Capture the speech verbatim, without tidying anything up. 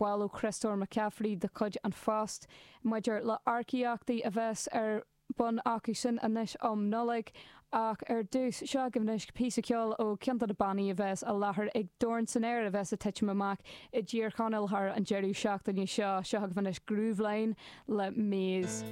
Bhil ó Chriostóir McCaffrey de chuid An Phost maidir le hearcaíochtaí a bheas ar bun acu sin anois um Nollaig ach ar dtús seo agaibh anois píosa ceoil ó cheann de na bannaí a bheas i láthair ag Dorn san Aer a bheas ag titim amach i dTír Chonaill thar an deireadh seachtaine seo seo agaibh anois Grooveline le Maze.